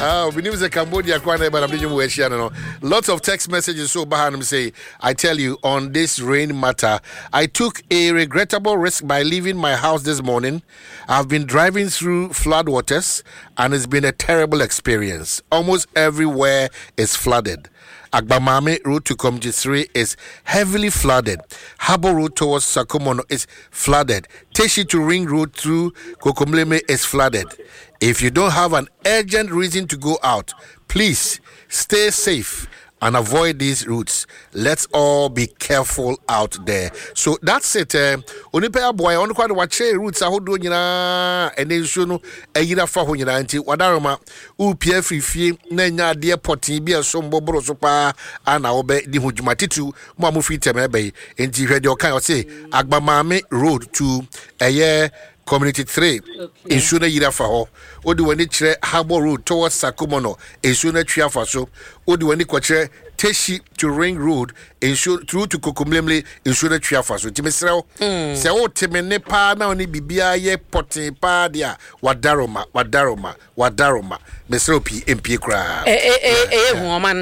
Ah, menim sɛ Cambodia koraa na ɛba na mede nwom wɔ ahyia no no. Lots of text messages so ba hanom say, I tell you, on this rain matter, I took a regrettable risk by leaving my house this morning. I've been driving through floodwaters and it's been a terrible experience. Almost everywhere is flooded. Agbamame Road to Community 3 is heavily flooded. Harbour Road towards Sakumono is flooded. Teshi to Ring Road through Kokomleme is flooded. If you don't have an urgent reason to go out, please stay safe and avoid these routes. Let's all be careful out there. So that's it. Eh, onipa aboa ɔno kwa de wakyerɛ routes ahodoɔ nyinaa ɛnɛ nsuo no ayiri afa hɔ nyinaa nti wadaroma wopia afiri fie na anya adeɛ pɔtee bi a ɛsom bɔboro so paa ana wobɛdi ho dwuma titiriw mo a mofiri tɛm ɛbɛ yi nti hwɛ deɛ ɔka ɔse agbamaame road to ɛyɛ community 3 nsuo no ayiri afa hɔ wode w'ani kyerɛ harbour road towards sakumono nsuo no atwi afa so wode w'ani kɔkyerɛ teshi to ring road nsuo through to kokomlemle nsuo no atwi afa so nti mesrɛ wo hmm. sɛ wote me ne paa na wone biribiara yɛ pɔtee paa deɛ a wadaroma wadaroma wadaroma mesrɛ wo pii mpie koraa ɛyɛ hu ɔman